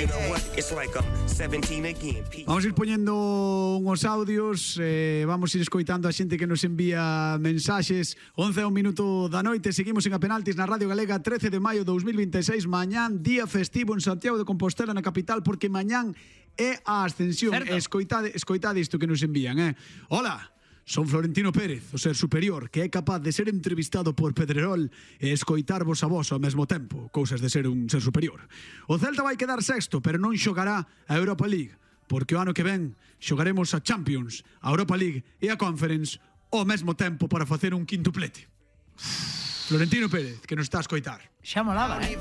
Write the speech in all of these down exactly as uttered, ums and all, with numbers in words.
You know what? It's like I'm seventeen again. Vamos a ir poñendo unhos audios, eh, vamos a ir escoitando a xente que nos envía mensaxes. Once a un minuto da noite, seguimos en A Penaltis na Radio Galega, trece de maio de dous mil vinte e seis, mañán, día festivo en Santiago de Compostela, na capital, porque mañán é a ascensión. Escoitade, escoitade isto que nos envían, eh. Hola, son Florentino Pérez, o ser superior, que é capaz de ser entrevistado por Pedrerol e escoitarvos a vos ao mesmo tempo, cousas de ser un ser superior. O Celta vai quedar sexto, pero non xogará a Europa League, porque o ano que ven xogaremos a Champions, a Europa League e a Conference ao mesmo tempo para facer un quintuplete. Florentino Pérez, que nos está a escoitar. Xa molaba, eh?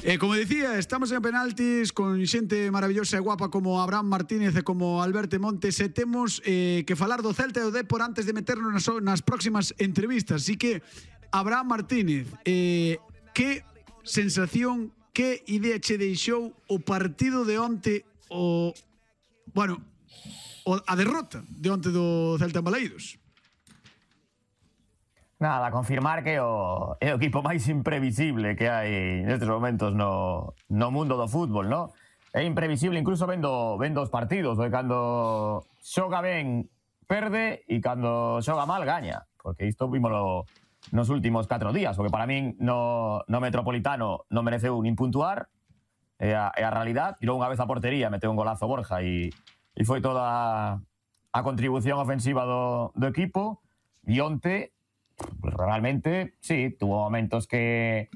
E como dicía, estamos en Penaltis con xente maravillosa e guapa como Abraham Martínez e como Alberto Montes, e temos eh, que falar do Celta e do Dépor antes de meternos nas, nas próximas entrevistas. Así que, Abraham Martínez, eh, que sensación, que idea che deixou o partido de onte, o bueno, o, a derrota de onte do Celta en Balaídos? Nada, confirmar que o, é o equipo máis imprevisible que hai nestes momentos no, no mundo do fútbol, no? É imprevisible incluso vendo, vendo os partidos, porque cando xoga ben perde e cando xoga mal gaña, porque isto vimoslo nos últimos catro días, porque para min no, no Metropolitano non mereceu nin puntuar, é a, é a realidad. Tirou unha vez a portería, meteu un golazo Borja e, e foi toda a contribución ofensiva do, do equipo. E onte, realmente, sí, tuvo momentos que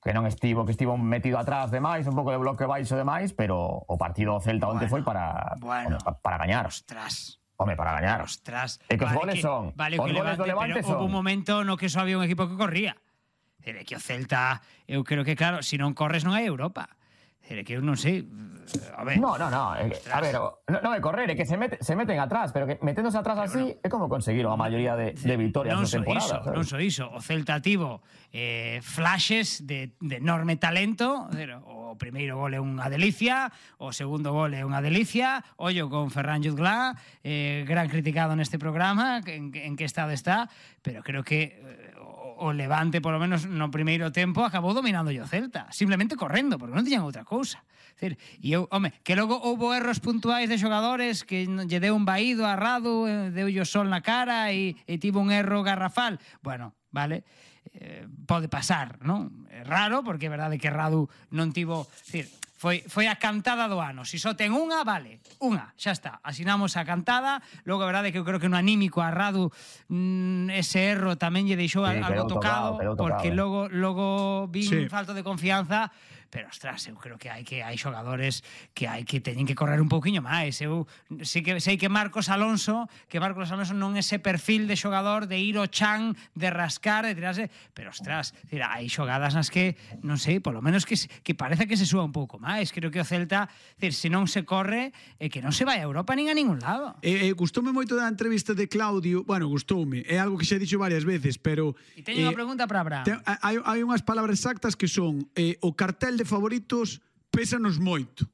que non estivo, que estivo metido atrás demais, un pouco de bloque baixo demais, pero o partido do Celta onte bueno, foi para, bueno, para, para gañar. Ostras. Home, para gañar. Ostras. E que os vale goles que, son. Vale os que goles levante, do Levante pero son. houve un momento no que só había un equipo que corría. É que o Celta, eu creo que claro, se non corres non hai Europa. É que eu non sei, a ver. No, no, no, é, a ver, non no é correr, é que se, mete, se meten atrás, pero que meténdose atrás pero así no. É como conseguiron a maioría de, de victorias na temporada. Iso, non so iso, o Celta tivo eh, flashes de, de enorme talento, o primeiro gol é unha delicia, o segundo gol é unha delicia, ollo con Ferran Jutglà, eh, gran criticado neste programa, en, en que estado está, pero creo que eh, o Levante, polo menos no primeiro tempo, acabou dominando o Celta, simplemente correndo, porque non tiñan outra cousa. E eu, home, que logo houve erros puntuais de xogadores que lle deu un vaído a Radu, deu o sol na cara e, e tivo un erro garrafal. Bueno, vale, eh, pode pasar, non? É raro, porque é verdade que Radu non tivo... Decir, Foi, foi a cantada do ano. Se só ten unha, vale, unha, xa está. Asinamos a cantada. Logo, a verdade é que eu creo que no anímico a Radu mmm, ese erro tamén lle deixou sí, algo tocado, tocado, porque logo, logo vin sí. falto de confianza. Pero, ostras, eu creo que hai que hai xogadores que hai que teñen que correr un pouquiño máis. Eu sei que, sei que Marcos Alonso, que Marcos Alonso non é ese perfil de xogador de ir ao chan, de rascar, de tirarse, pero, ostras, hai xogadas nas que, non sei, polo menos que, que parece que se súa un pouco máis. Creo que o Celta, decir, se non se corre, é que non se vai a Europa nin a ningún lado. Eh, eh, gustoume moito da entrevista de Claudio, bueno, gustoume, é algo que xa he dixo varias veces, pero... E teño eh, unha pregunta para Abraham. Te, hai, hai unhas palabras exactas que son eh, o cartel de favoritos pésanos moito.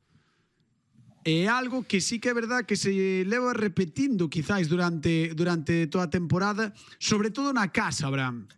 É algo que sí que é verdad que se leva repetindo quizás durante durante toda a temporada, sobre todo na casa, Abraham.